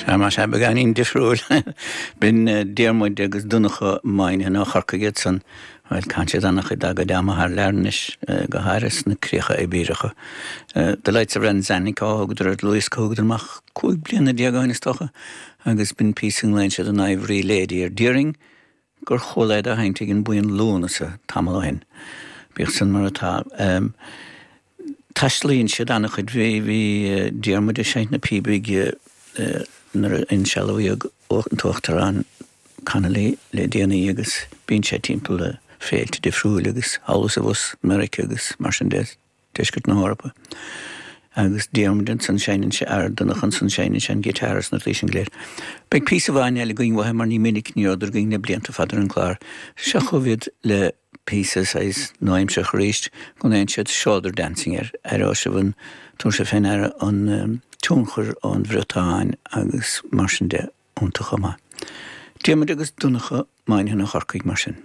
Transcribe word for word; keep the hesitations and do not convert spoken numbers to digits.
Sea, más ea, beagáinín difriúil. B'in Diarmuid agus Donncha Moynihan ó Chorcaigh iad san. Bhuel, caitheann siad an-chuid dá gcuid ama thar lear anois, go háirithe sna críocha Ibéireacha. The Lights of Ranzanico a thugadar ar dhlúthdhiosca a thugadar amach cúig bliana déag ó shin is dócha, agus b'in píosa a nglaonn siad an Ivory Lady ar. Déarfainn gur chuala iad á sheinnt ag an mbuíon Lúnasa tamall ó shin. Bíodh san mar atá. Taistealaíonn siad an-chuid. Bhí bhí Diarmuid ag seinnt na píobaí nuair a insealbhaíodh an tUachtarán Connolly le déanaí agus bíonn sé timpeall le féilte difriúil agus thall is abhus, Meiriceá agus mar sin de, deisceart na hEorpa. Agus Diarmuid ansan seinneann sé ar Donncha ansan seinneann sé an guitar is na rudaí sin go léir. Beidh píosa amháin eile againn uathu mar ní minic ní rabhadar againn le blianta fada ar an gclár. Seo chugaibh iad le píosa saghas nua-aimseartha arís go nglaonn siad shoulder dancing air. Aireoidh sibh an, tabharfaidh sibh fé ndeara an tionchar ón Bhriotáin agus mar sin de iontu chomh maith. Diarmuid agus Donncha Moynihan ó Chorcaigh mar sin.